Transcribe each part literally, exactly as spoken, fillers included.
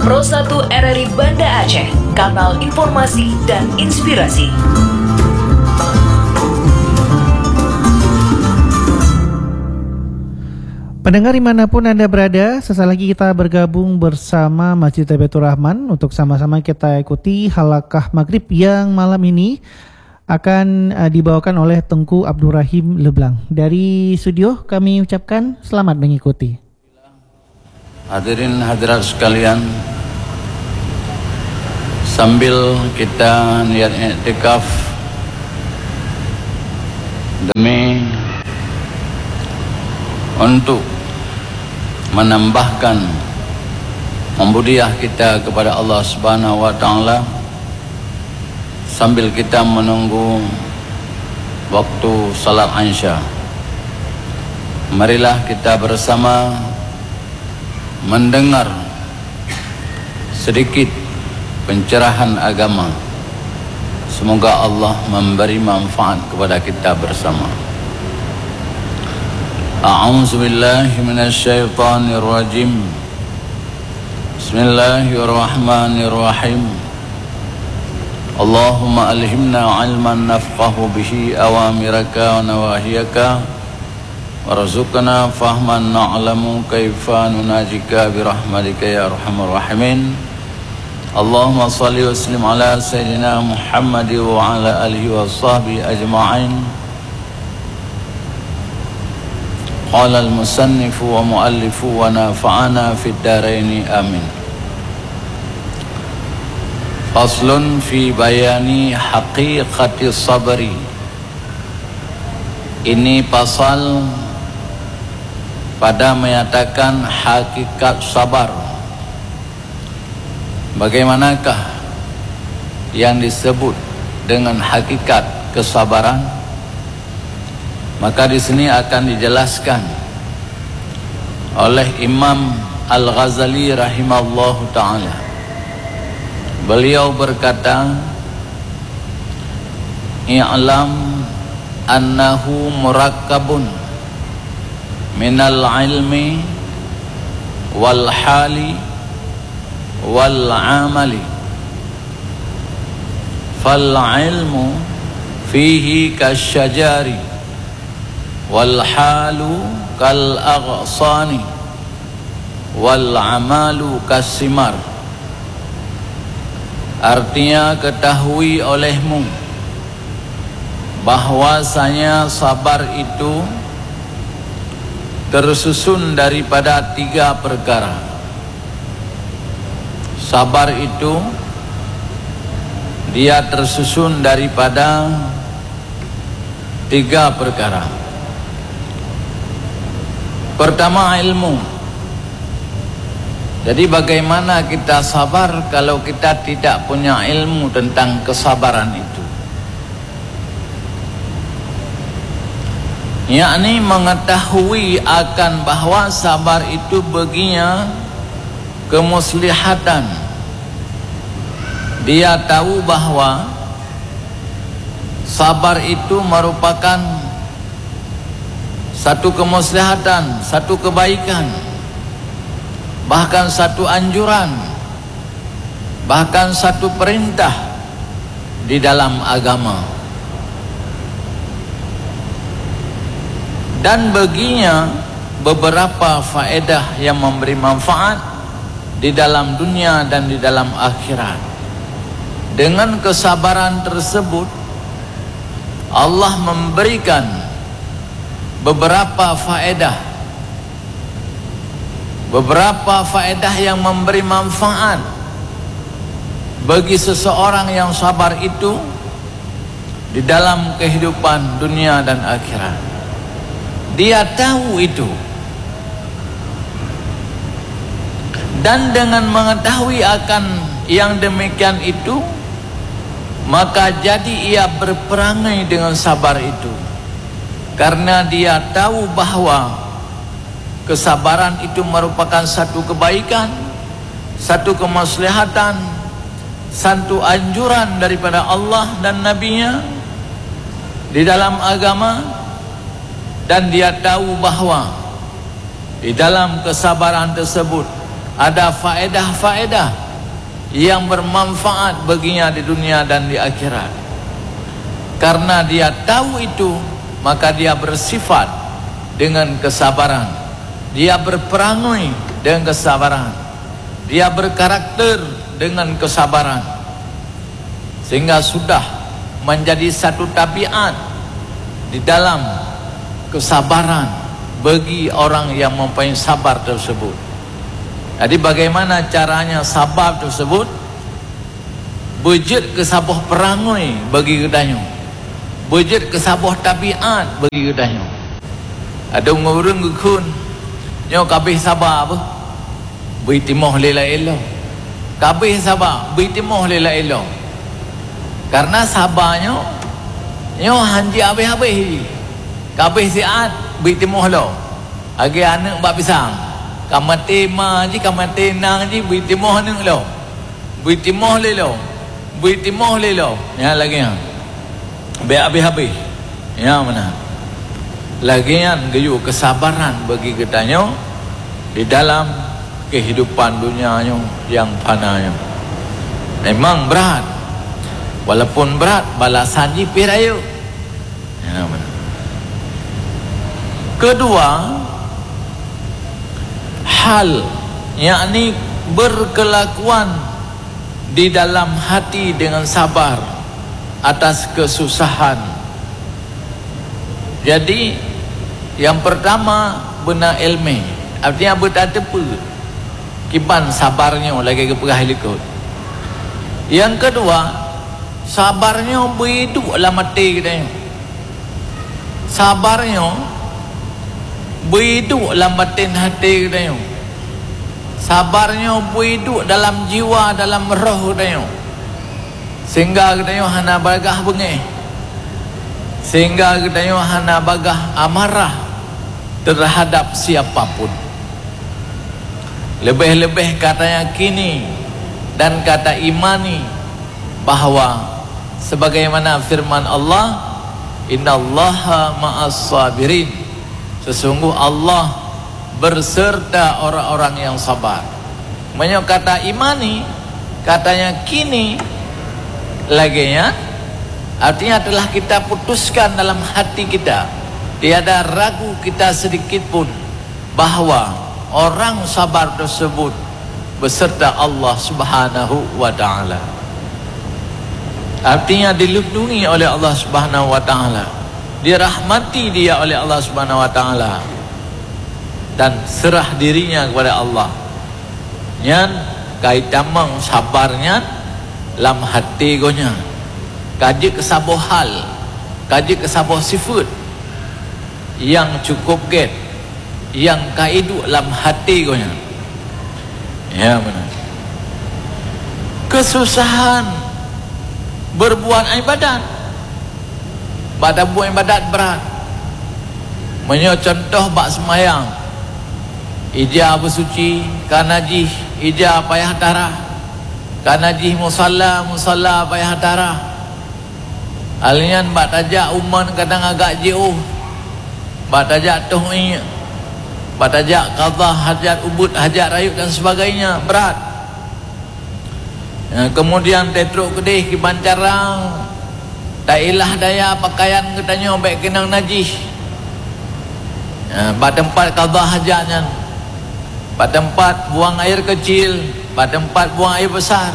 Pro satu R R I Banda Aceh, kanal informasi dan inspirasi. Pendengar dimanapun Anda berada, sesaat lagi kita bergabung bersama Masjid Baitur Rahman untuk sama-sama kita ikuti halakah maghrib yang malam ini akan, eh, dibawakan oleh Teungku Abdurrahim Leblang. Dari studio kami ucapkan selamat mengikuti. Hadirin hadirat sekalian, sambil kita niat iktikaf demi untuk menambahkan membudiah kita kepada Allah Subhanahu wa Taala, sambil kita menunggu waktu salat Isya, marilah kita bersama mendengar sedikit pencerahan agama. Semoga Allah memberi manfaat kepada kita bersama. A'udzubillahi minasyaitonirrajim. Bismillahirrahmanirrahim. Allahumma alhimna ilman nafqahu bihi awamiraka wa nawahiyaka, warzuqna fahman na'lamu kaifa nunajika birahmatika ya arhamar rahimin. Allahumma salli wa sallim ala sayyidina Muhammad wa ala alihi wa sahbihi ajma'in. Qala al-musannifu wa muallifu wa nafa'ana fid daraini amin. Faslun fi bayani haqiqati sabri. Ini pasal pada menyatakan hakikat sabar. Bagaimanakah yang disebut dengan hakikat kesabaran? Maka di sini akan dijelaskan oleh Imam Al-Ghazali rahimallahu taala. Beliau berkata, "I'lam annahu murakkabun minal ilmi wal hali wal amali. Fal ilmu fihi kasyajari, wal halu kal aghsani, wal amalu kasimar." Artinya, ketahui olehmu bahwasanya sabar itu tersusun daripada tiga perkara. Sabar itu dia tersusun daripada tiga perkara. Pertama, ilmu. Jadi, bagaimana kita sabar kalau kita tidak punya ilmu tentang kesabaran itu? Yakni mengetahui akan bahwa sabar itu baginya kemuslihatan. Dia tahu bahwa sabar itu merupakan satu kemuslihatan, satu kebaikan, bahkan satu anjuran, bahkan satu perintah di dalam agama. Dan baginya beberapa faedah yang memberi manfaat di dalam dunia dan di dalam akhirat. Dengan kesabaran tersebut, Allah memberikan beberapa faedah, beberapa faedah yang memberi manfaat bagi seseorang yang sabar itu di dalam kehidupan dunia dan akhirat. Dia tahu itu. Dan dengan mengetahui akan yang demikian itu, maka jadi ia berperangai dengan sabar itu. Karena dia tahu bahwa kesabaran itu merupakan satu kebaikan, satu kemaslahatan, satu anjuran daripada Allah dan Nabi-Nya di dalam agama, dan dia tahu bahwa di dalam kesabaran tersebut Ada faedah-faedah yang bermanfaat baginya di dunia dan di akhirat. Karena dia tahu itu, maka dia bersifat dengan kesabaran. Dia berperangai dengan kesabaran. Dia berkarakter dengan kesabaran. Sehingga sudah menjadi satu tabiat di dalam kesabaran bagi orang yang mempunyai sabar tersebut. Jadi, bagaimana caranya sabar tersebut beujeuet keu saboh peurangui bagi geutanyoe, beujeuet keu saboh tabiat bagi geutanyoe? Ada ureuëng geukheun, "Nyoe ka abéh saba beuh, beu timoh lé laén lom." Ka abéh saba, beu timoh lé laén lom. Karena saba nyoe, nyoe han jeuet abéh-abéh jih. Ka abéh siat, beu timoh lom. Lagée aneuëk bak pisang, ka maté ma jih, ka maté inong jih, beu timoh aneuëk lom. Beu timoh lé lom. Beu timoh lé lom. Nyan lagée nyan. Bék habéh-habéh. Nyang meunan. Lagée nyan geuyue keusabaran bagi geutanyoe di dalam keuhidupan dunia nyoe nyang fana nyoe. Memang brat. Walaupun brat, balasan jih pih rayeuk. Nyang meunan. Kedua, hal, yakni berkelakuan di dalam hati dengan sabar atas kesusahan. Jadi, yang pertama, beuna iéleumé, artinya beutateupeue kiban sabar nyoe lagée geupeugah likot. Yang kedua, sabar nyoe beuiduek lam até geutanyoe. Sabar nyoe beuiduek lam batén até geutanyoe. Sabar nyoe beuiduek dalam jiwa, dalam roh geutanyoe. Sehingga geutanyoe hana bagah beungéh. Sehingga geutanyoe hana bagah amarah terhadap siapa pun. Leubeh-leubeh ka tayakini dan ka taimani bahwa sebagaimana firman Allah, "Innallaha ma'as sabirin." Sesungguh Allah berserta orang-orang yang sabar. Meunyoe ka taimani, ka tayakini lagée nyan, artinya telah kita putuskan dalam hati kita, tiada ragu kita sedikit pun bahwa orang sabar tersebut beserta Allah Subhanahu wa Ta'ala. Artinya, dilindungi oleh Allah Subhanahu wa Ta'ala, dirahmati dia oleh Allah Subhanahu wa Ta'ala, dan serah dirinya kepada Allah. Nyan ka itamong sabar nyan lam até geuh nyan. Ka jeuet keu saboh hal, ka jeuet keu saboh sifeuet nyang cukup gét, nyang ka iduek lam até geuh nyan. Ya, meunan. Keususahan beureubuat iébadat. Bak tabuet iébadat brat. Meunyoe cuntoh bak seumayang, ija beusuci, ka najih ija payah tarah, ka najih musalla, musalla payah tarah. Alnyan bak tajak u mon kadang agak jiôh, bak tajak toh iék, bak tajak qadha hajat, ubeuet hajat rayeuk dan sebagainya, brat. Ya, kemudian teutrok keudeh kiban cara tailah daya pakaian geutanyoe bék keunong najih. Ya, bak teumpat qadha hajat nyan, bak teumpat buang air kecil, bak teumpat buang air besar,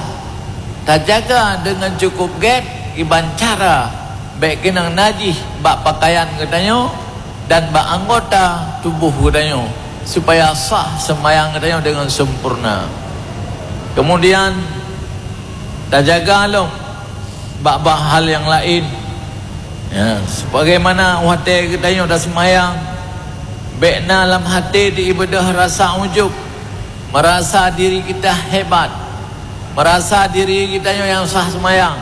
tajaga deungon cukup gét kiban cara bék keunong najih bak pakaian geutanyoe dan bak anggota tuboh geutanyoe, supaya sah seumayang geutanyoe deungon sempurna. Kemudian, tajaga lom bak-bak hal nyang laén. Ya, sebagaimana watée geutanyoe taseumayang, bék na lam até teuibeudôh rasa ujub, meurasa diri kita hebat, meurasa diri geutanyoe nyang sah seumayang,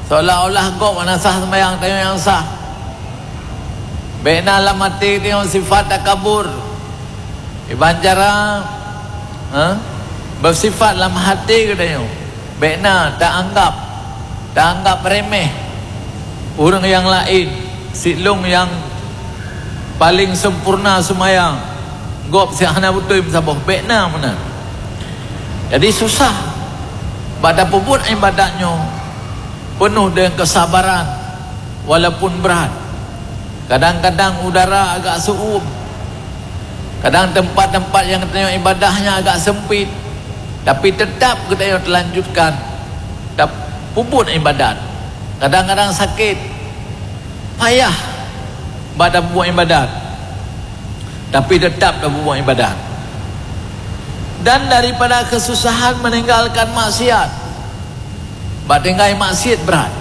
seolah-olah gob hana sah seumayang, tanyoe nyang sah. Bék na lam até tanyoe sifat takabur. Iban cara, ha, beusifat lam até geutanyoe, bék na taanggab, taanggab reméh ureuëng nyang laén, si lôn nyang paleng sempurna seumayang, gob si hana beutôi meusaboh, bék na meunan. Jadi susah bak tapeubuet ibadat nyoe peunoh deungon keusabaran, walaupun brat. Kadang-kadang udara agak seuuem. Kadang teumpat-teumpat nyang geutanyoe ibadah nyan agak seumpit, tapi teutap geutanyoe teulanjutkan tapeubuet ibadat. Kadang-kadang sakét, payah bak tapeubuet ibadat, tapi teutap tapeubuet ibadat. Dan daripada keususahan meninggalkan maksiat, bak tinggai maksiat brat,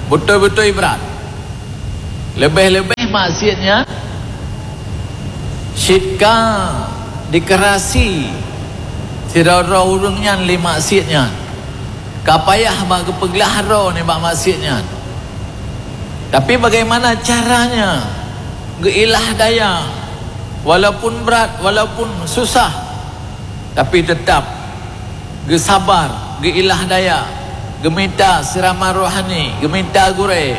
beutôi-beutôi brat. Leubeh-leubeh maksiat nyan cit ka dikeurasi sidroe-droe ureuëng nyan lé maksiat nyan, ka payah bak geupeuglah droe nibak maksiat nyan. Tapi bagaimana caranya geuilah daya, walaupun brat, walaupun susah, tapi teutap geusabar, geuilah daya, geumita seuraman rohani, geumita gurée,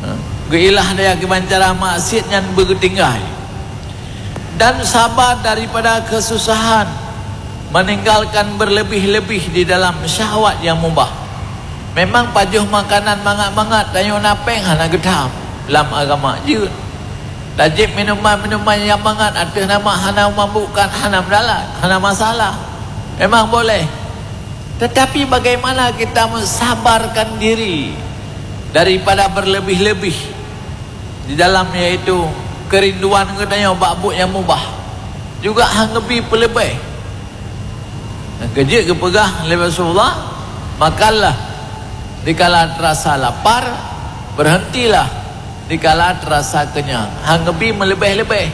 ha, geuilah daya kiban cara maksiat nyan beugeutinggai. Dan sabar daripada keususahan, meninggalkan berlebih-lebih di dalam syahwat yang mubah. Memang pajoh makanan mangat-mangat tanyoe na péng hana geutham lam agama jeuet. Tajieb minuman-minuman nyang mangat ateueh nama hana meumabukkan, hana meudalat, hana masalah. Memang boleh. Tetapi bagaimana kita mensabarkan diri daripada berlebih-lebih di dalam, yaitu keurinduan geutanyoe bak buet nyang mubah, juga han geubi peuleubeh. Nyang keujeuet geupeugah lé Rasulullah, "Makanlah dikala terasa lapar, berhentilah dikala terasa kenyang." Han geubi meuleubeh-leubeh.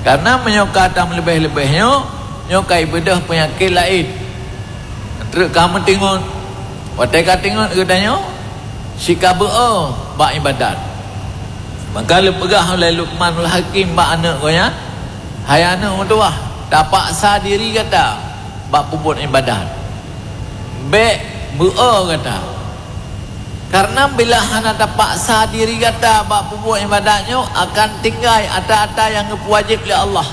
Karena meunyoe ka tameuleubeh-leubeh nyoe, nyoe ka ibeudôh peunyakét laén. Treuk ka meutingot. Watée ka tingot geutanyoe, sika beu-o bak ibadat. Maka leupeugah ulée Luqmanul Hakim bak aneuëk geuh nyan, "Hai aneuëk meutuwah, tapaksa diri gata bak peubuet ibadat. Bék beu-o gata. Karena bila hana tapaksa diri gata bak peubuet ibadat nyoe, akan tinggai ata-ata nyang geupeuwajéb lé Allah.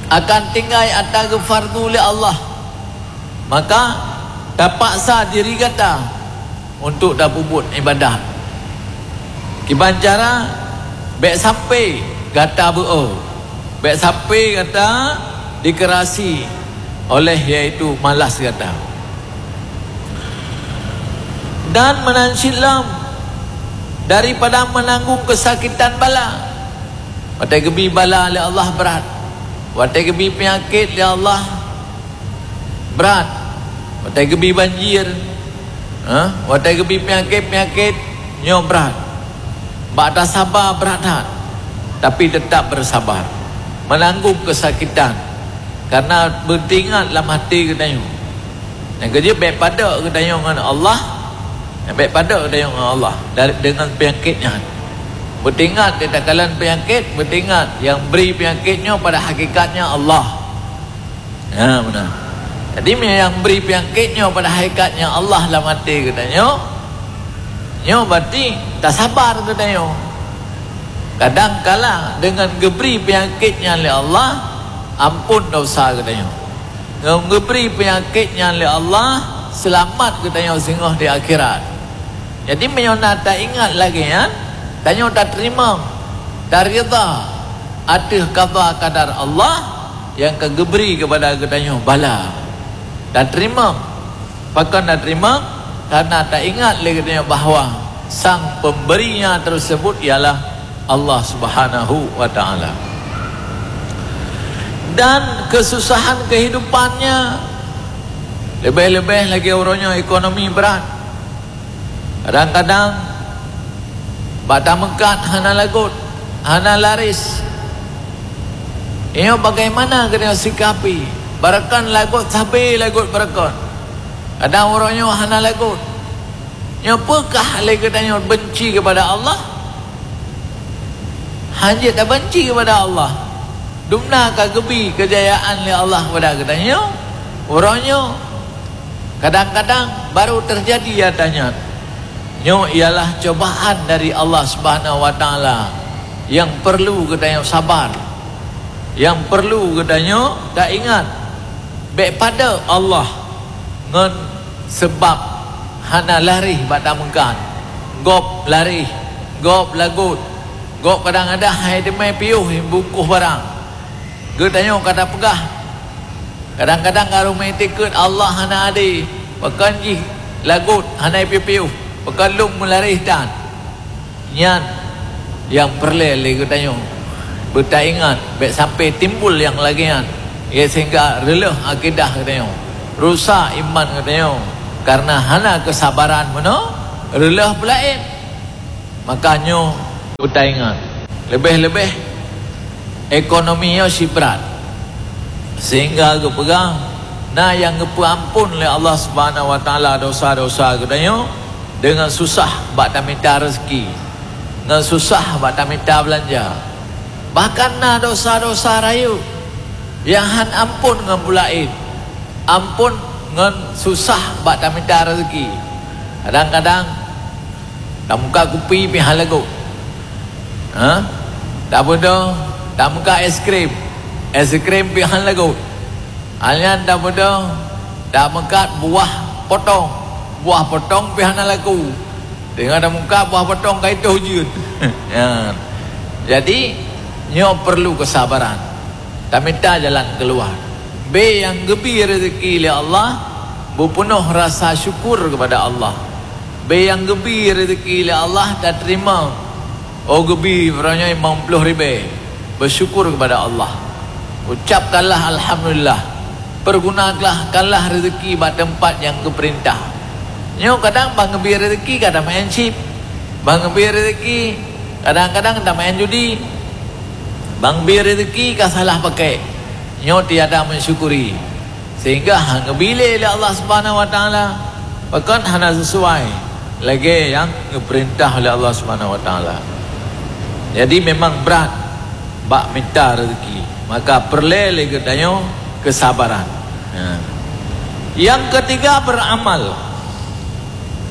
Akan tinggai ata geufardu lé Allah. Maka, tapaksa diri gata untuk tapeubuet ibadat. Kiban cara, bék sampai gata beu-o, bék sampai gata dikeurasi oleh, yaitu malas gata. Dan meunan cit lom daripada meunanggung keusakitan bala." Watée geubi bala lé Allah brat, watée geubi peunyakét lé Allah brat, watée geubi banjir, ha? Watée geubi peunyakét-peunyakét nyoe brat. Bak tasaba brat that, tapi teutap beusabar, meunanggung keusakitan, karena beuteuingat lam até geutanyoe. Nyang keujeuet bék padok geutanyoe ngon Allah, bék padok geutanyoe ngon Allah dari, deungon peunyakét nyan. Beuteuingat di takalon peunyakét, beuteuingat nyang bri peunyakét nyoe pada hakikatnya Allah. Ya, beuna. Jadi, meunyoe nyang bri peunyakét nyoe pada hakikatnya Allah lam até geutanyoe, nyoe berarti tasabar geutanyoe. Kadang kala deungon geubri peunyakét nyan lé Allah, amphon desya geutanyoe. Ngon geubri peunyakét nyan lé Allah, seulamat geutanyoe singoh di akhirat. Jadi, meunyoe na taingat lagée nyan, tanyoe tateurimong, taridha ateueh qadha qadar Allah nyang ka geubri keupada geutanyoe bala. Tateurimong. Pakon tateurimong? Karena taingat lé geutanyoe bahwa sang pemberinya tersebut ialah Allah Subhanahu wa Ta'ala. Dan kesusahan kehidupannya, leubeh-leubeh lagée uroe nyoe ekonomi brat. Kadang-kadang bak tameukat hana lagot, hana laris. Nyoe bagaimana geutanyoe sikapi? Barakon lagot sabe lagot barakon. Kadang uroe nyoe hana lagot. Nyoe peukah lé geutanyoe benci keupada Allah? Hanjeuet tabenci keupada Allah. Dumna ka geubi keujayaan lé Allah keupada geutanyoe. Uroe nyoe kadang-kadang baru teujadi ata nyan. Nyoe ialah cobaan dari Allah Subhanahu wa Ta'ala nyang perlu geutanyoe sabar, nyang perlu geutanyoe taingat. Bék padub Allah ngon seubab hana laréh bak tameukat. Gob laréh, gob lagot, gob kadang-kadang hai teumé piôh bungkôh barang. Geutanyoe ka tapeugah, kadang-kadang ka ruméh tikeut Allah hana adé, pakon jih lagot hana piôh-piôh, pakon lôn meularéh tan. Nyan nyang peureulée lé geutanyoe beutaingat, bék sampai timbul nyang lagée nyan, ya, sehingga reuloh akidah geutanyoe, rusak iman geutanyoe, kareuna hana keusabaran meunoe reuloh peulaén. Maka nyoe beutaingat, leubeh-leubeh ekonomi nyoe sibrat, sehingga geupeugah na nyang geupeuamphon lé Allah Subhanahu wa Taala dosa-dosa geutanyoe deungon susah bak tamita reuzeki, ngon susah bak tamita beulanja. Bahkan na dosa-dosa rayeuk nyang han amphon ngon peulaén, amphon ngon susah bak tamita reuzeki. Kadang-kadang tameukat kupi pih han lagot. Ha? Tabeudôh, tameukat es krim, es krim pih han lagot. Alnyan tabeudôh, tameukat buah potong, buah potong pih hana laku. Teungoh tameukat buah potong ka itoh jeuet. Ya. Jadi, nyoe peurlu keusabaran. Tamita jalan keuluwa. Bék nyang geubi reuzeki lé Allah, beupeunoh rasa syukur keupada Allah. Bék nyang geubi reuzeki lé Allah tateurimong. Oh, geubi uroe nyoe limong ploh ribée. Beusyukur keupada Allah. Ucapkanlah alhamdulillah. Peugunakanlah reuzeki bak teumpat nyang geupeurintah. Nyoe kadang ban geubi reuzeki ka tameu'en chip. Ban geubi reuzeki kadang-kadang tameu'en judi. Ban geubi reuzeki ka salah pakai. Nyoe tiada mensyukuri. Sehingga han geubi lé Allah Subhanahu wa Taala, pakon hana sesuai lagée nyang geupeurintah lé Allah Subhanahu wa Taala. Jadi, memang brat bak mita reuzeki, maka peureulée lé geutanyoe keusabaran. Ha. Nyang keutiga, beramal,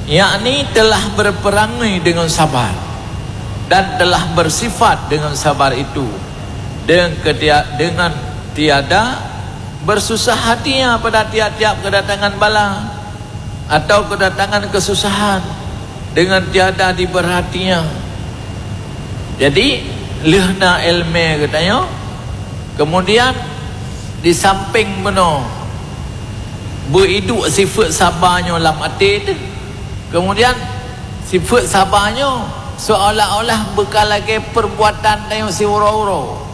yakni telah berperangai dengan sabar dan telah bersifat dengan sabar itu dengan ketia-, dengan tiada bersusah hatinya pada tiap-tiap kedatangan bala atau kedatangan kesusahan dengan tiada diberhatinya. Jadi, lheueh na iéleumé geutanyoe, kemudian di sampéng bunoe beuiduek sifeuet saba nyoe lam até teuh, kemudian sifeuet saba nyoe seolah-olah beuka lagée peurbuatan tanyoe siuroe-uroe.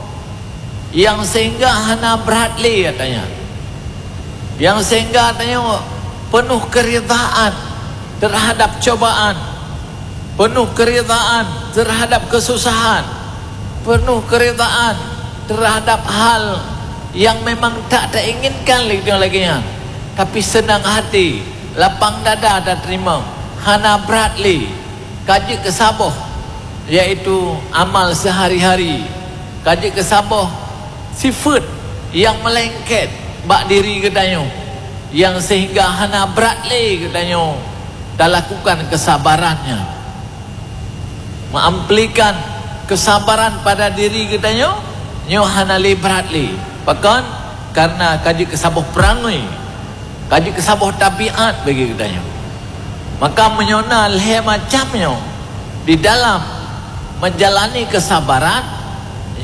Nyang sehingga hana brat lé, katanya. Nyang sehingga tanyoe peunoh keuridaan teuhadab cobaan, peunoh keuridaan teuhadab keususahan, peunoh keuridaan teuhadab hal nyang memang tak tainginkan lé tanyoe lagée nyan. Tapi seunang hati, lapang dada tateurimong, hana brat lé. Ka jeuet keu saboh, yaitu amal seuhari-hari. Ka jeuet keu saboh sifeuet nyang meulengket bak diri geutanyoe, nyang seuhingga hana brat lé geutanyoe talakukan keusabaran nyan. Meuamplikan keusabaran pada diri geutanyoe, nyoe hana lé brat lé. Pakon? Kareuna ka jeuet keu saboh peurangui. Ka jeuet keu saboh tabiat bagi geutanyoe. Maka meunyoe na lhée macam nyoe di dalam menjalani keusabaran,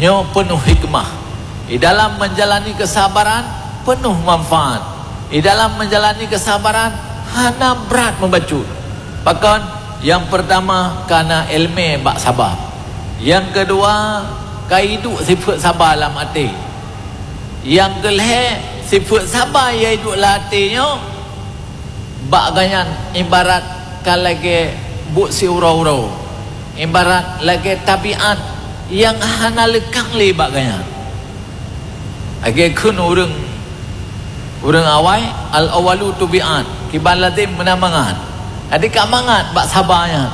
nyoe peunoh hikmah. Di dalam menjalani keusabaran, peunoh manfaat. Di dalam menjalani keusabaran, hana brat meubacut. Pakon? Nyang peurtama, kana iéleumé bak saba. Nyang keudua, ka iduek sifeuet saba lam até. Nyang keulhée, sifeuet saba nyang iduek lam até nyoe, bak gobnyan ibarat ka lagée buet siuroe-uroe, ibarat lagée tabiat nyang hana leukang lé bak gobnyan. Lagée kheun ureuëng, ureuëng awai, "Al-awwalu tubi'an," kiban lazem meunan mangat. Jadi ka mangat bak saba nyan.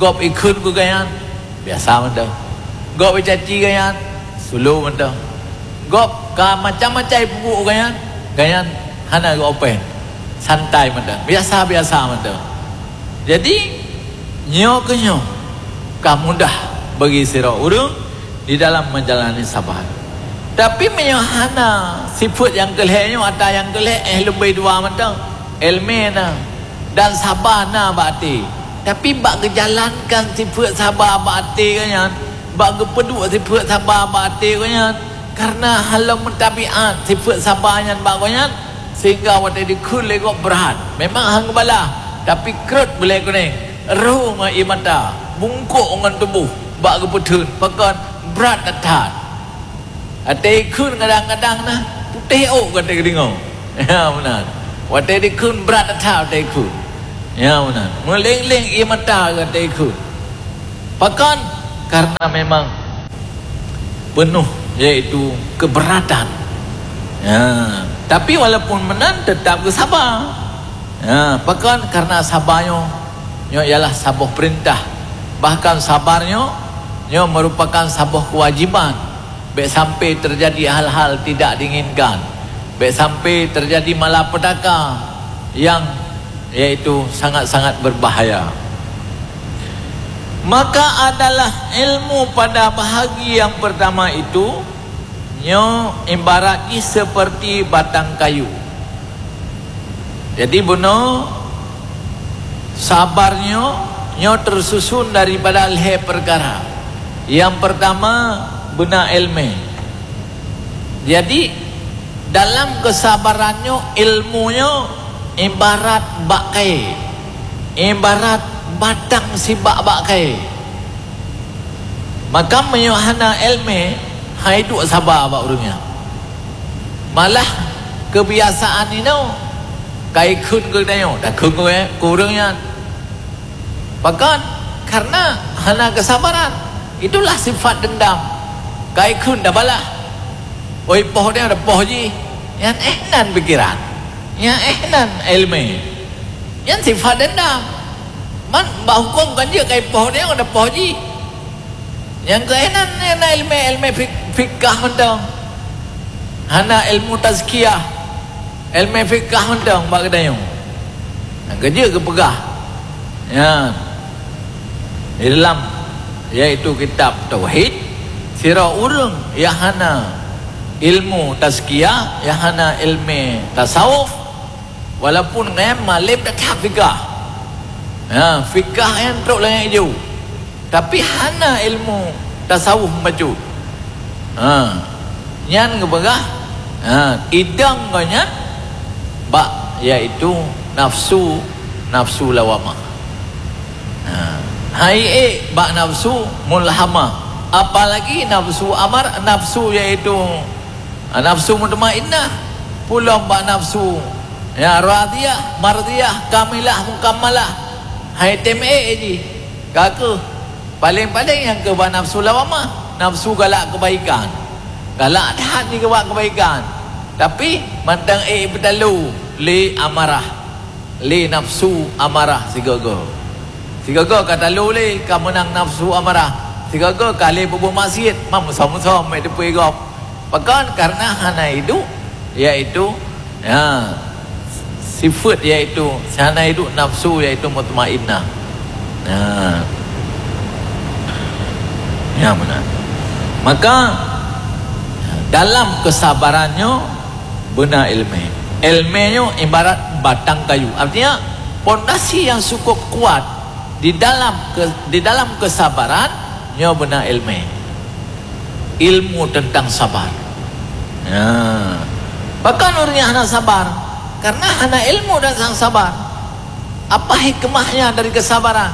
Gob ikheun keu gobnyan, biasa mantong. Gob icaci gobnyan, slow mantong. Gob ka macam-macam ipeubuet gobnyan, gobnyan hana geu-open. Santai mantong, biasa-biasa mantong. Jadi, nyoe keuh nyoe ka mudah bagi sidroe ureuëng di dalam menjalani saban. Tapi meunyoe hana sifeuet nyang keu lhèe nyoe, ata nyang keu lhèe, eh, leubeh dua mantong, èleumèe na dan saba na bak até. Tapi bak geujalankan sifeuet saba bak até geuh nyan, bak geupeuduek sifeuet saba bak até geuh nyan, kareuna hana lom meutabiat sifeuet saba nyan bak geuh nyan, sehingga watèe dikheun lé gob brat. Memang han geubalah, tapi krot beulée kuneng, rhô ngon ié mata, bungkôk ngon tuboh bak geupeutheun, pakon brat that-that. Watèe ikheun kadang-kadang na putéh ôk gata geudeungoe. Ya, meunan. Watèe dikheun brat that-that watèe ikheun. Ya, meunan. Meuléng-léng ié mata gata ikheun. Pakon? Karena memang penuh, yaitu keberatan. Ya. Tapi walaupun meunan, tetap geusaba. Ya, pakon? Karena saba nyoe, nyoe ialah saboh perintah. Bahkan sabar nyoe, nyoe merupakan saboh kewajiban. Bèk sampai terjadi hal-hal tidak diinginkan. Bèk sampai terjadi malapetaka yang, yaitu sangat-sangat berbahaya. Maka adalah ilmu pada bahagi yang pertama itu, nyoe ibarat jih seperti batang kayu. Jadi, bunoe sabar nyoe, nyoe tersusun daripada lhèe peukara. Nyang peurtama, beuna èleumèe. Jadi, dalam keusabaran nyoe, ilmu nyoe ibarat bak kayèe, ibarat batang sibak bak kayèe. Maka meunyoe hana èleumèe, han iduek saba bak ureueng nyan. Malah keubiasaan inoe ka ikheun keu geutanyoe, takheun keu, keu ureueng nyan. Pakon? Karena hana keusabaran. Itulah sifat dendam. Ka ikheun tabalah. Oi, poh nyoe tapoh jih. Nyan éh nan pikiran. Nyan éh nan èleumèe. Nyan sifat dendam. Man bak huköm kan jeuet ka ipoh nyoe tapoh jih. Nyang keu éh nan, na èleumèe, èleumèe fik-, fikah mantong. Hana ilmu tazkiyah. Èleumèe fikah mantong bak geutanyoe. Nyang ka jeuet geupeugah. Nyan. Di dalam, yaitu kitab tauhid, sidroe ureueng nyang hana ilmu tazkiyah, nyang hana èleumèe tasawuf, walaupun nyan malem that-that fikah. Ha, fikah nyan trok lagèe ijo. Tapi hana ilmu tasawuf bacut. Ha, nyan geupeugah, ha, idong geuh nyan bak, yaitu nafsu, nafsu lawamah. Ha, hai ék bak nafsu mulhamah. Apalagi nafsu amar-, nafsu yaitu, ha, nafsu mutmainnah. Pulom bak nafsu, ya, radiyah, mardiyah, kamilah, mukammalah. Hai tem ék jih. Ka keuh, paleng-paleng nyang keu bak nafsu lawamah, nafsu galak keubaikan. Galak that jih keu bak keubaikan. Tapi mantong ék ipeutalo lé amarah, lé nafsu amarah sigoe-goe. Sigoe-goe ka talo lé, ka meunang nafsu amarah. Sigoe-goe ka lé peubuet maksiet, mam musom-musom ék teupeu gob. Pakon? Karena hana iduek, yaitu, ya, sifeuet, yaitu hana iduek nafsu, yaitu mutmainnah. Ya. Ya, beuna. Maka, dalam keusabaran nyoe beuna èleumèe. Èleumèe nyoe ibarat batang kayu. Artinya, pondasi yang cukup kuat di dalam ke-, di dalam keusabaran nyoe beuna èleumèe. Ilmu tentang sabar. Ya. Pakon ureueng nyang hana sabar? Karena hana ilmu tentang sabar. Apa hikmahnya dari kesabaran?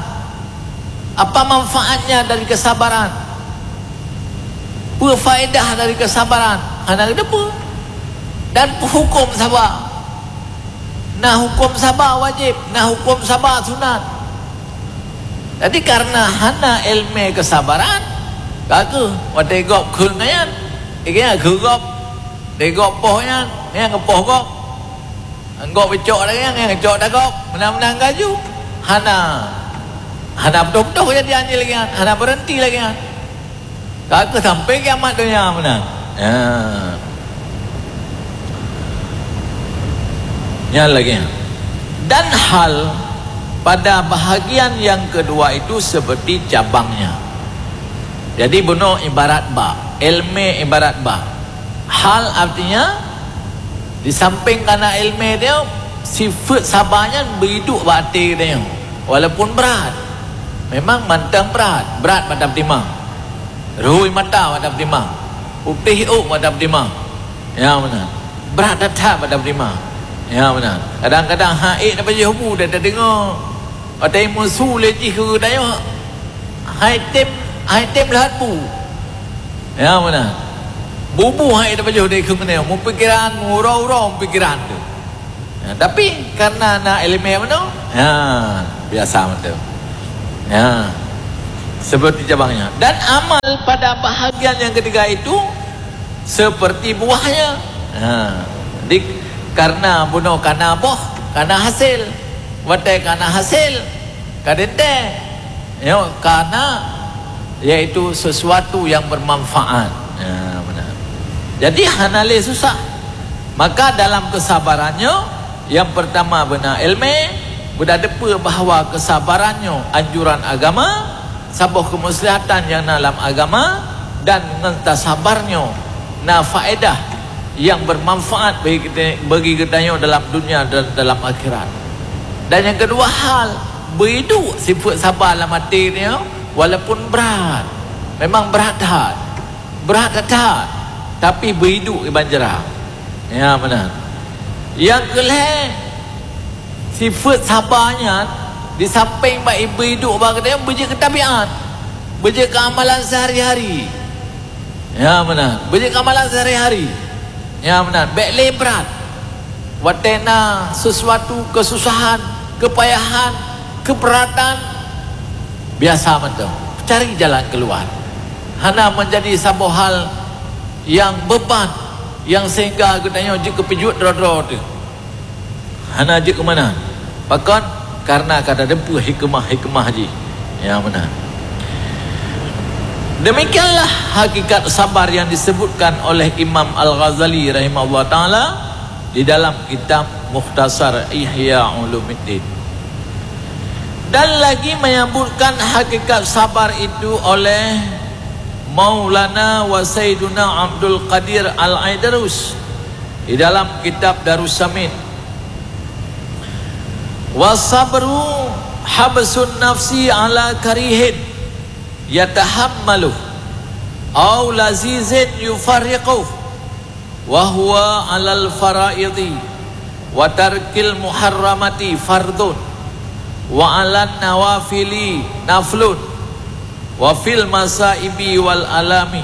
Apa manfaatnya dari kesabaran? Peue faedah dari kesabaran? Hana geuteupeue. Dan peue huköm saba? Na huköm saba wajéb, na huköm saba sunat. Jadi, karena hana èleumèe keusabaran, ka keuh watèe gob kheun nyan, ikheun kheun gob, di gob poh nyan, nyan geupoh gob. Gob icok lagèe nyan, nyan icok dah gob. Meunan-meunan laju. Hana, hana beutôi-beutôi kejadian jih lagèe nyan, hana beureuhenti lagèe nyan. Ka keuh sampai kiamat donya meunan. Ya. Nyan lagèe nyan. Dan hal pada bahagian yang kedua itu seperti cabangnya. Jadi, bunoe ibarat bak, èleumèe ibarat bak. Hal artinya, di samping kana iéleumé nyoe, sifeuet saba nyan beuiduek bak até geutanyoe, walaupun brat. Memang mantong brat, brat bak tapeutimang. Rhoi mata bak tapeutimang. Putéh ôk bak tapeutimang. Ya, meunan. Brat that-that bak tapeutimang. Ya, meunan. Kadang-kadang han ék tapajoh bu, tadeungoe. Watée meusu lé jih keu geutanyoe, hai tem, hai tem lheueh bu. Ya, meunan. Bubu hai tapajoh deh keu geutanyoe, meupikiran, meuuroe-uroe meupikiran tu. Ya, tapi karena na iéleumé meunoe, ya, biasa mantong. Ya. Seperti cabangnya. Dan amal pada bahagian yang ketiga itu seperti buahnya. Ha. Di, karena bunoe kana boh, kana hasil. Watée kana hasil, ka teuntée. Nyoe kana, yaitu sesuatu yang bermanfaat. Ha, meunan. Jadi hana lé susah. Maka dalam kesabaran nyoe, yang pertama beuna iéleumé, beutateupeue bahwa kesabaran nyoe anjuran agama, saboh keumuslihatan nyang na lam agama, dan ngon tasabar nyoe na faedah nyang bermanfaat bagi kita, bagi geutanyoe dalam dunia dan dalam akhirat. Dan nyang keudua hal, beuiduek sifeuet saba lam até nyoe walaupun brat. Memang brat that. Brat that-that, tapi beuiduek iban jra. Ya, meunan. Nyang keulhée, sifeuet saba nyan di sampéng bak beuiduek bak geutanyoe beujeuet keu tabiat, beujeuet keu amalan seuhari-hari. Ya, meunan. Beujeuet keu amalan seuhari-hari. Ya, meunan. Bék lé brat. Watée na sesuatu keususahan, keupayahan, keubeuratan, biasa mantong. Cari jalan keuluwa. Hana meunjadi saboh hal nyang beuban, nyang sehingga geutanyoe jeuet keu peujuet droe-droe teuh. Hana jeuet keu meunan. Pakon? Karena ka tateupeue hikmah-hikmah jih. Ya, meunan. Demikianlah hakikat sabar yang disebutkan oleh Imam Al-Ghazali rahimahullah taala di dalam kitab Mukhtasar Ihya Ulumuddin. Dan lagi menyebutkan hakikat sabar itu oleh Maulana wa Sayyiduna Abdul Qadir Al-Aidarus di dalam kitab Darussamin. Wasabru habsun nafsi ala karihin yatahammaluh au lazizin yufarriquh, wa huwa alal faraidi wa tarkil muharramati fardun, wa alan nawafili naflun, wa fil masaibi wal alami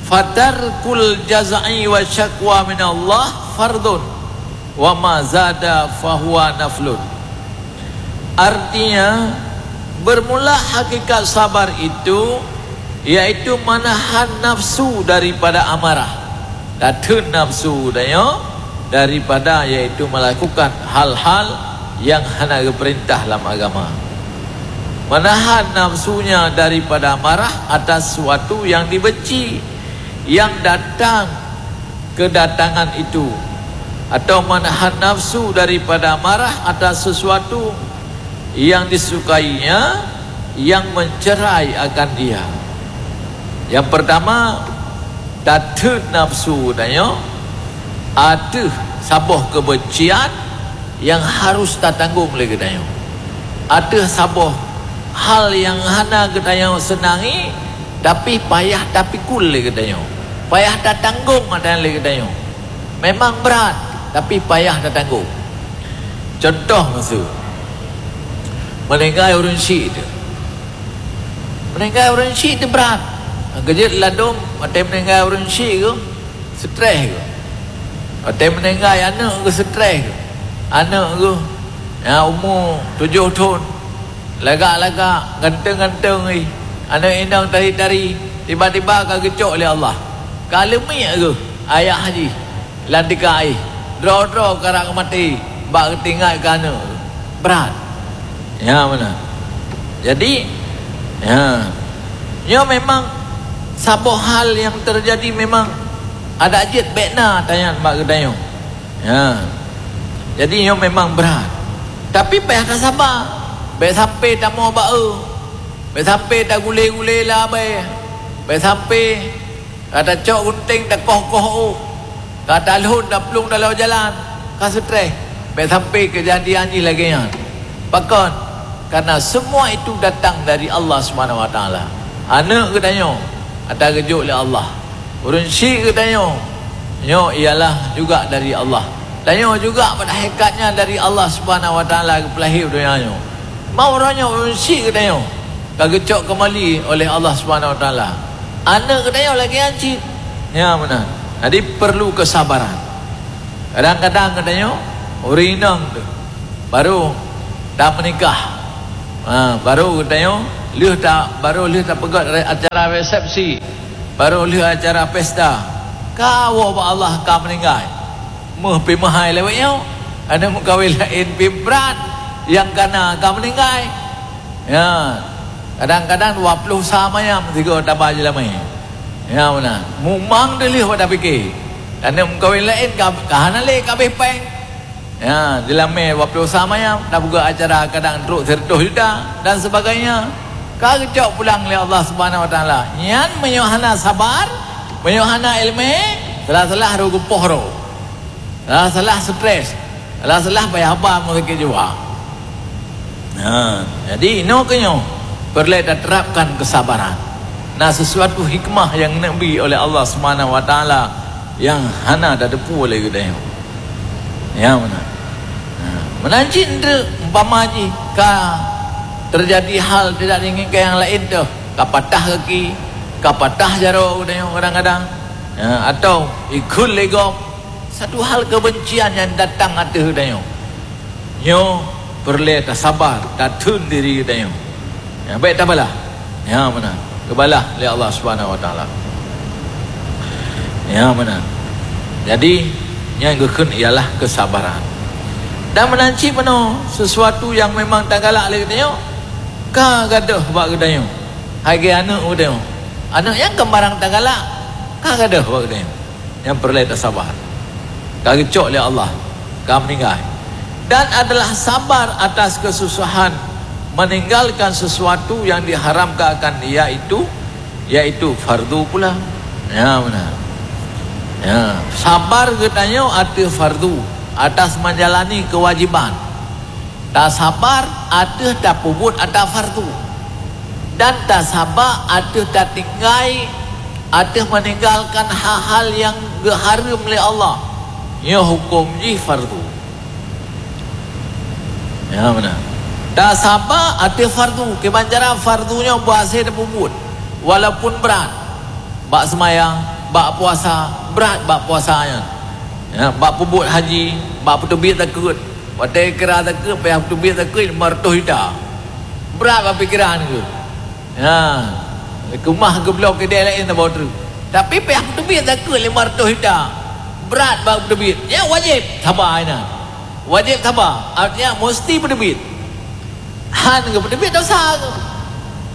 fatarkul jazai wa syakwa minallah fardun, wa ma zada fahuwa naflun. Artinya, bermula hakikat sabar itu yaitu menahan nafsu daripada amarah. Tatheun nafsu tanyoe daripada, yaitu melakukan hal-hal yang hana geupeurintah lam agama. Menahan nafsunya daripada marah atas suatu yang dibenci yang datang kedatangan itu, atau menahan nafsu daripada marah atas sesuatu yang disukainya yang mencerai akan dia. Yang pertama, tatheun nafsu tanyoe ateueh saboh keubencian yang harus tatanggong lé geutanyoe. Ateueh saboh hal yang hana geutanyoe seunangi, tapi payah tapikul lé geutanyoe. Payah tatanggong ata nyan lé geutanyoe. Memang brat, tapi payah tatanggong. Contoh miseu, meuninggai ureuëng syik teuh. Meuninggai ureuëng syik teuh brat. Geujeuet ladôm, watée meuninggai ureuëng syik geuh, stres geuh. Watée meuninggai aneuëk geuh, stres geuh. Aneuëk geuh nyang umu tujoh thon, lagak-lagak, ganteng-ganteng jih, aneuëk inong tari-tari, tiba-tiba ka geucok lé Allah. Ka leumiek geuh ayah jih lam tika jih, droe-droe karap maté bak geutingat keu aneuëk. Brat. Ya, meunan. Jadi, ya, nyoe memang saboh hal nyang teujadi, memang adak jeuet bék na tanyan bak geutanyoe. Ya. Jadi, nyoe memang brat. Tapi payah tasaba. Bék sampai tamoe bak eu. Bék sampai tagulé-gulé lé abée. Bék sampai Ka tacok gunting, takoh-koh ôh. Ka talhon, taplueng dalam jalan. Ka seutreh. Bèk sampai keujadian jih lagèe nyan. Pakon? Karena semua itu datang dari Allah Subhanahu Wa Taala. Aneuk geutanyoe ata geujok lé Allah. Ureueng syiek geutanyoe, nyoe ialah juga dari Allah. Tanyoe juga pada hakikatnya dari Allah Subhanahu Wa Taala geupeulahé u donya nyoe. Mau uroe nyoe ureueng syiek geutanyoe ka geucok keumali oleh Allah Subhanahu Wa Taala. Aneuk geutanyoe lagèe nyan cit. Nyan meunan. Jadi perlu kesabaran. Kadang-kadang geutanyoe ureueng inong tu baru tameunikah. Ha, baru geutanyoe lheueh ta-, baru lheueh tapeugöt re-, acara resepsi, baru lheueh acara pesta. Ka woe bak Allah ka meuninggai. Meuh pi meuhai lewat nyoe. Aneuk meukawen laén pi brat nyang kana ka meuninggai. Ya, kadang-kadang dua ploh sa mayam sigoe taba jeulamé. Ya, meunan. Mumang deuh lheueh bak tapiké. Aneuk meukawen laén ka, ka hana lé ka abéh péng. Ya, jeulamé dua ploh sa mayam, tapeugöt acara kadang trok sireutoh juta dan sebagainya. Ka geucok pulang lé Allah Subhanahu Wa Taala. Nyan meunyoe hana sabar, meunyoe hana ileumé, salah-salah roh geupoh roh. Salah-salah stres. Salah-salah payah ba meusakét jiwa. Nah, jadi inoe keu nyoe peureulèe taterapkan kesabaran. Na sesuatu hikmah nyang neubi oleh Allah Subhanahu Wa Taala nyang hana tateupeue lé geutanyoe. Ya, meunan. Nah, meunan cit enteuk umpama jih ka teujadi hal tidak diinginkan nyang laén teuh, ka patah gaki, ka patah jaroe geutanyoe kadang-kadang, ya, atau ikheun lé gob, satu hal kebencian nyang datang ateueh geutanyoe. Nyoe peureulèe tasabar, tatheun diri geutanyoe. Ya, bèk tabalah. Ya, meunan. Geubalah lé Allah Subhanahu Wa Taala. Ya, meunan. Jadi, nyang geukheun ialah kesabaran. Dan meunan cit meunoe, sesuatu nyang memang tagalak lé geutanyoe, ka gadôh bak geutanyoe. Hai geuh aneuk geutanyoe. Aneuk nyang keu barang tagalak, ka gadôh bak geutanyoe. Nyang peureulèe tasabar. Ka geucok lé Allah, ka meuninggai. Dan adalah sabar atas kesusahan meninggalkan sesuatu yang diharamkan, yaitu, yaitu fardu pula. Ya, meunan. Ya, sabar geutanyoe ateueh fardu, atas menjalani kewajiban. Tasabar ateueh tapeubuet ata fardu, dan tasaba ateueh tatinggai, ateueh meninggalkan hal-hal nyang geuhareuem lé Allah. Nyoe huköm jih fardu. Ya, meunan. Tasaba ateueh fardu, kiban cara fardu nyoe beuhasé tapeubuet, walaupun brat. Bak seumayang, bak puasa, brat bak puasa nyan. Ya, bak peubuet haji, bak peuteubiet zakeuet. Watèe kira zakeuet, payah peuteubiet zakeuet lima reutôh juta. Brat bak pikeran keuh. Ya, keumah geubloe keudè laén saboh treuk. Tapi payah peuteubiet zakeuet lima reutôh juta. Brat bak peuteubiet. Nyan wajéb saba inan. Wajéb saba, artinya musti peuteubiet. Han geupeuteubiet dosa geuh.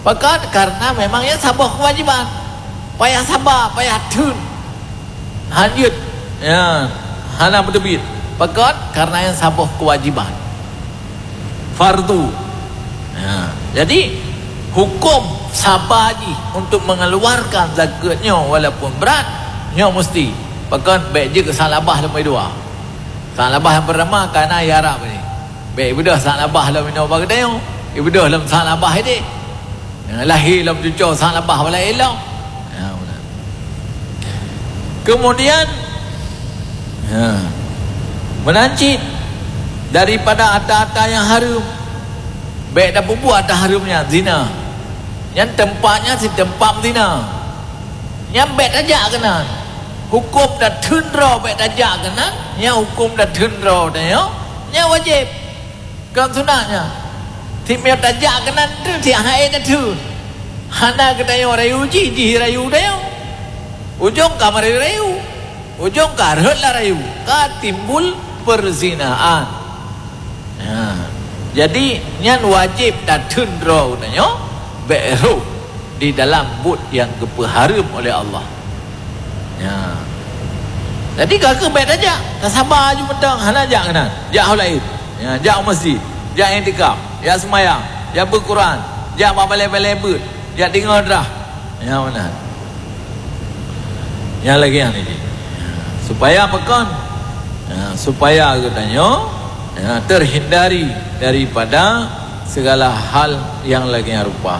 Pakon? Karena memang nyan saboh keuwajiban. Payah saba, payah theun. Han jeuet. Ya, hana peuteubiet. Pakon? Karena nyan saboh keuwajiban. Fardu. Ya. Jadi, huköm saba jih untuk mengeluarkan zakeuet nyoe walaupun brat, nyoe musti. Pakon? Bèk jeuet keu salabah lom dua. Salabah nyang peurtama ka na iharab nyoe. Bèk ibeudôh salabah lom inoe bak geutanyoe, ibeudôh lom salabah idéh. Ya, lahé lom cucoe salabah bak laén lom. Ya, meunan. Kemudian, ya, meunan cit daripada ata-ata nyang hareuem, bèk tapeubuet ata hareuem nyan, zina. Nyan teumpat nyan cit teumpat zina. Nyan bèk tajak keunan. Huköm tatheun droe bèk tajak keunan, nyan huköm tatheun droe tanyoe, nyan wajéb. Kon sunat nyan. Cit meunyoe tajak keunan tu, cit hana ék tatheun. Hana geutanyoe rayu jih, jih rayu tanyoe. Ujong ka meurayu-rayu. Ujong ka rhot lam rayu. Ka timbul perzinaan. Ha. Jadi, nyan wajéb tatheun droe geutanyoe bèk rhot di dalam buet nyang geupeuhareuem oleh Allah. Ya. Jadi, ka keuh bèk tajak, tasaba aju mantong, hana jak keunan. Jak ho laén. Ya, jak u masjid, jak iktikaf, jak seumayang, jak beuet Quran, jak bak balèe-balèe beuet, jak deungö drah. Ya, meunan. Nyang lagèe nyan jih. Supaya pakon? Ya, supaya geutanyoe, ya, terhindari daripada segala hal yang lagèe nyan rupa.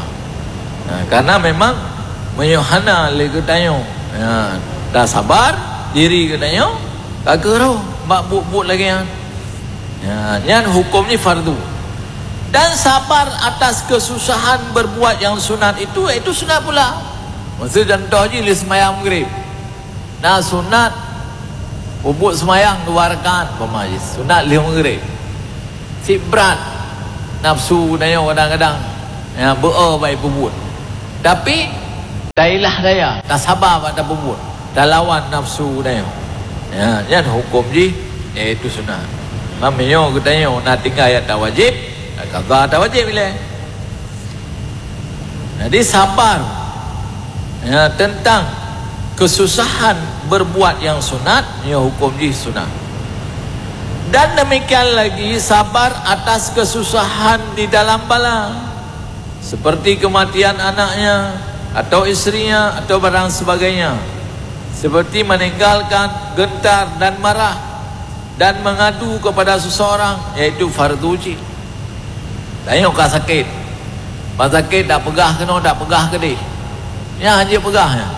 Ya, karena memang meunyoe hana lé geutanyoe, ya, tasabar, diri geutanyoe ka keurôh bak buet-buet lagèe nyan. Ya, nyan huköm jih fardu. Dan sabar atas kesusahan berbuat yang sunat itu, itu sunat pula. Maksud contoh jih lé seumayang Maghrib. Na sunat peubuet seumayang dua rakaat, umpama jih, sunat lheueh Maghrib. Cit brat nafsu geutanyoe kadang-kadang, ya, beu-o bak peubuet. Tapi, tailah daya, tasaba bak tapeubuet, talawan nafsu geutanyoe. Ya, nyan huköm jih, yaitu sunat. Meunyoe geutanyoe na tinggai ata wajéb, qadha ata wajéb ilèe. Jadi, sabar, ya, tentang kesusahan berbuat yang sunat, ya, huköm jih sunat. Dan demikian lagi sabar atas kesusahan di dalam bala, seperti kematian anaknya, atau istrinya, atau barang sebagainya, seperti meninggalkan gentar dan marah, dan mengadu kepada seseorang, yaitu fardu jih. Tanyoe ka sakét. Ban sakét dak peugah keunoe, dak peugah keudéh. Nyan hana peugah nyan.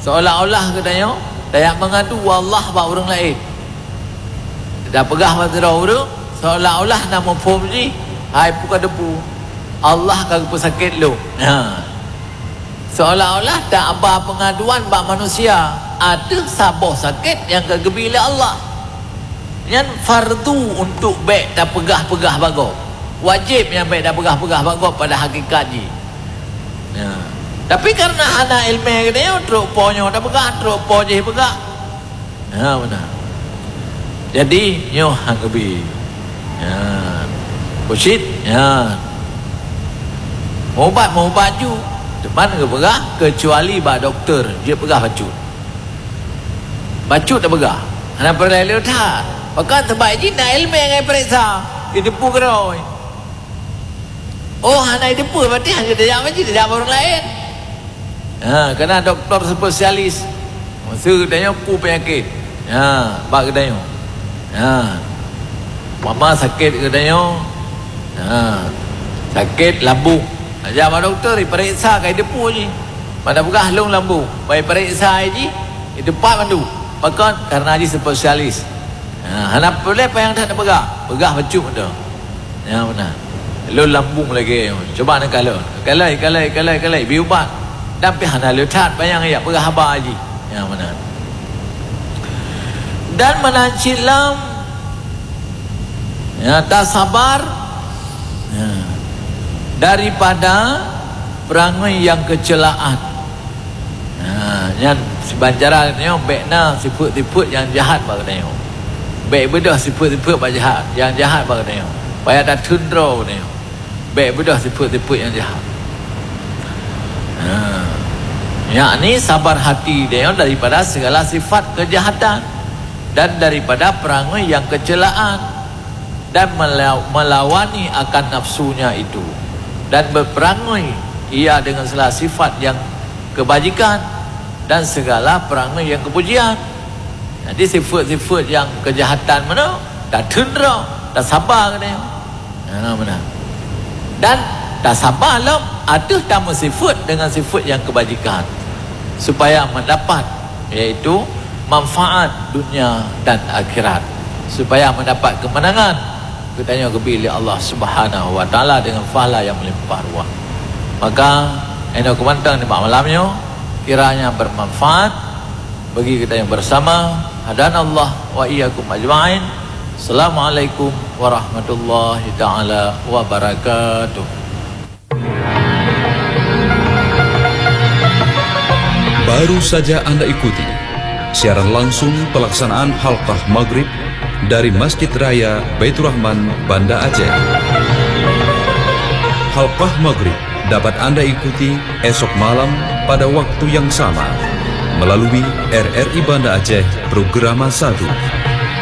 Seolah-olah geutanyoe tajak mengadu Allah bak ureuëng laén. Dak peugah bak sidroe ureuëng, seolah-olah na muphom jih, hai peu ka depu. Allah ka geupeusakét lôn. Ha. Seolah-olah ta aba peungaduan bak manusia ateueh saboh sakét nyang ka geubi lé Allah. Nyan fardu untuk bék tapeugah-peugah bak gob. Wajéb nyang bék tapeugah-peugah bak gob pada hakikat jih. Ya. Tapi karena hana iéleumé geutanyoe, trok po nyoe tapeugah, trok po jéh peugah. Ha, meunan. Jadi, nyoe han geubi. Ya. Busyit, ya. Meubat, meubat ju. Teuma geupeugah, keucuali bak dokto, jeuet peugah bacut. Bacut tapeugah. Hana peureulèe lé that. Pakon? Sabab jih na iéleumé nyang ipeuriksa. Jiteupeue keudroe. Oh, hana jiteupeue, berarti hana tajak bacut, tajak bak ureuëng laén. Ha, keu na dokto spesialis. Maksud geutanyoe peue peunyakét. Ha, bak geutanyoe. Ha. Umpama sakét geutanyoe. Ha. Sakét lambung. Tajak bak dokto, ipeuriksa ka jiteupeue jih. Ban tapeugah lôn lambung. Ban ipeuriksa jih, jiteupat mandum. Pakon? Karena jih spesialis. Ha, hana peureulèe panyang that tapeugah. Peugah bacut mantong. Nyang meunan. Lôn lambung lagèe nyoe. Cuba neukalon. Kalai, kalai, kalai, kalai. Bi ubat. Dan pih hana le that panyang jak peugah haba jih. Nyang meunan. Dan meunan cit lom, ya, tasabar, ya, daripada peurangui nyang keuceulaan. Ha, nyan siban cara geutanyoe bék na sifeuet-sifeuet nyang jahat bak geutanyoe. Bék beudôh sifeuet-sifeuet bak jahat, nyang jahat bak geutanyoe. Supaya tatheun droe geutanyoe. Bék beudôh sifeuet-sifeuet nyang jahat. Ha. Yakni sabar hati geutanyoe daripada segala sifat kejahatan dan daripada peurangui nyang keuceulaan. Dan mela-, melawani akan nafsunya itu, dan berperangai ia dengan segala sifat yang kebajikan dan segala perangai yang kepujian. Jadi, sifat-sifat yang kejahatan meunoe, tatheun droe, tasaba geutanyoe. Ha, meunan. Dan tasaba lom ateueh tameusifat dengan sifat yang kebajikan, supaya mendapat, yaitu manfaat dunia dan akhirat, supaya mendapat kemenangan geutanyoe geubi lé Allah Subhanahu wa Taala dengan pahala yang melimpah ruah. Maka, inoe keumantong nibak malam nyoe, kiranya bermanfaat bagi geutanyoe bersama. Hadanallah wa iyyakum ajma'in. Assalamualaikum warahmatullahi taala wabarakatuh. Baru saja Anda ikuti siaran langsung pelaksanaan Halqah Maghrib dari Masjid Raya Baiturrahman, Banda Aceh. Halqah Maghrib dapat Anda ikuti esok malam pada waktu yang sama melalui R R I Banda Aceh Programa satu.